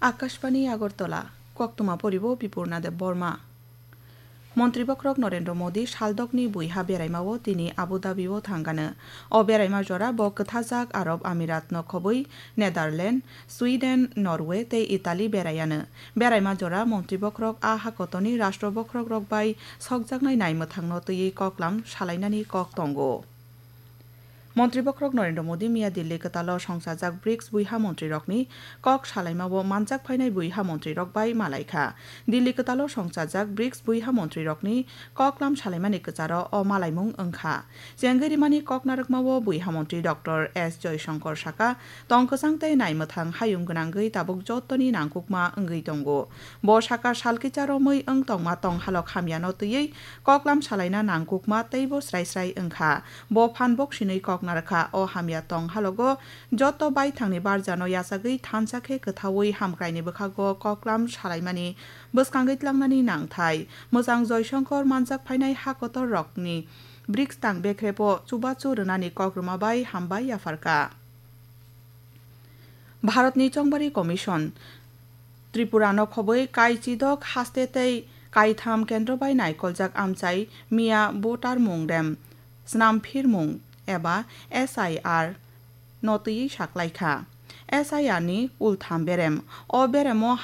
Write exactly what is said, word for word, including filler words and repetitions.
Akashbani Agartala, koktwma poribo Bipurna Deb Borma. Montri bokhorok Narendra Modi saldokni buiha beraimao tini Abu Dhabi-o thangkha. O beraima jora bo kwthajak Arab Amirat no khobwi Netherlands, Sweden, Norway tei Italy beraiya. Beraima jora montri bokhorok a hakotorni rashtra bokhorokrok bai sokjaknai naimwthangno twiwi koklam salainani kok tongo. Montri bokhorok Narendra Modi miya Delhi kwtalo songchajak brics buiha montrirokni kok salaimao manjak phainai buiha montrirok bai malaikha. Delhi kwtalo songchajak brics buiha montrirokni koklam salaimani kwcharo o malaimung wngkha. Chengwi rimani kok narwkmao buiha montri Doctor S Jaishankar sakha, tongkwchang tei naimwthang hayung gwnangwi tabuk jottoni nangkukma wngwi tongo. Bo sakha, salkisa romwi wng tongma tonghalok hamyano twiwi koklam salaina nangkukma teibo srai srai wngkha. Bo phan bok sinwi kok narwkha. O hamya tong halogo joto baithangni barjano yachagwi thansa khe kwthaui hamkraini bwkhago koklam salaimani bwskangwi tlangnani nangthai. Mwchang Joyshonkor manjak phainai ha kotor rokni brics tang bekhrebo chubachu rwnani kok rwma bai hambai yapharkha. Bharatni Chongbari Commission Tripurano khobwi kaichidok haste tei kaitham kendro bai naikoljak amchai miya voter mung rem snamphirmung eba S I R no twiwi saklaikha. S I R ni ultham berem. O beremo